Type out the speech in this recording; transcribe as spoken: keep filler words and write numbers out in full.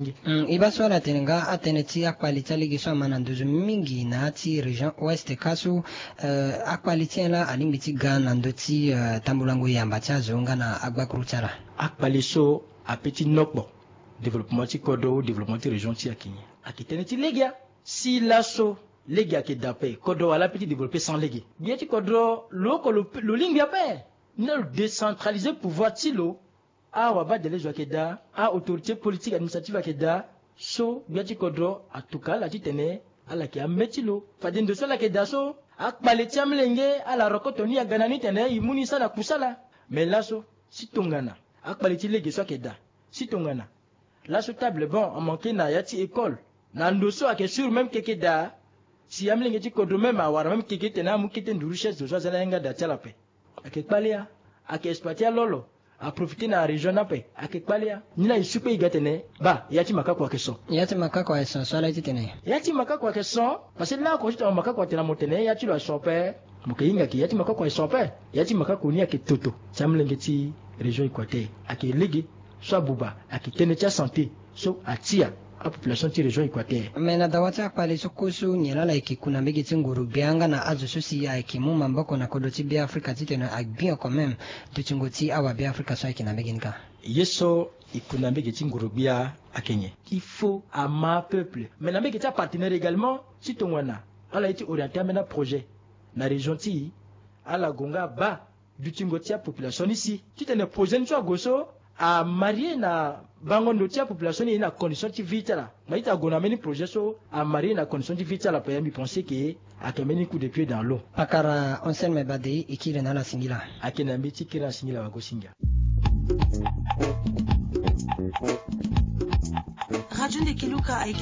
Ngi. Mm, e baa so ala tene nga atënë ti akpali ti alege so ama na nduzu mingi na ya ti région ouest kâ so, eh, akpali ti nyen laa alingbi ti ga na ndö ti, eh, tambulango yamba ti azo nga na agbakuru ti ala? Akpali so ape ti nokpo développement ti kodro ou développement ti région ti e ayeke nyen? Ayeke tënë ti lege. Si laso lege ayeke daa ape, kodro wala ape ti développer sans lege? Gbia ti kodro lo oko lo, lo lingbi ape. Ni laa lo décentraliser pouvoir ti lo. Awabadelezo ayeke daa, a-autorité politique administrative ayeke daa. So gbia ti kodro atuka ala titene ala yeke ame ti lo. Fade ndo so ala yeke daa so, akpale ti amolenge ala rokoto ni aga na ni titene e mu ni sara kusala. Mais laso, si tongana akpale ti lege so ayeke daa, si tongana laso table banc amanke na ya ti école, na ndo so ayeke sûr même keke daa, si amolenge ti kodro même awara même keke titene amu kete nduru chaise zo so aza na yanga daa ti ala ape. Ayeke kpale ya. Ayeke exploiter alolo, aprofiter na région ni ape. Ayeke kpale ya. Ni laa e su kpe e ga tene baa, ya ti makako ayeke son. Ya ti makako ayeke son so ala ye titene? Ya ti makako ayeke son. Parce que laoko ti tongana makako atene na mo tene ya ti lo ayeke son ape, mo yeke hinga ke ya ti makako ayeke son ape. Ya ti makako ni ayeke toto ti amolenge ti région Équateur. Ayeke lege so abuba, ayeke tënë ti asanté so atia apopulation ti région Équateur. Mais na dawa ti akpale so kue so nyen laa ala yeke ku na mbege ti nguru-gbia nga na azo so si ayeke mu maboko na kodro ti Beafrika titene agbi oko même dutingo ti awa Beafrika so ayeke na mbege ni kâ? Ye so e ku na mbege ti nguru-gbia ayeke nyen? Il faut ama apeuple. Mais na mbege ti apartenaire également, si tongana ala ye ti orienter ambeni aprojet na région ti e, ala gue nga baa dutingo ti apopulation ni si, titene projet ni so ague so, amarier na bango ndo ti apopulation ni na condition ti vie ti ala. Mais ita ague na mbeni projet so amarier na condition ti vie ti ala ape, ya mbi pense ke ayeke mbeni coup de pied dans l'eau. Pakara Anselme Badei, e kiri na ala singila. Ayeke na mbi ti kiri na ala singila, wagosinga. Radio Ndekeluka ayeke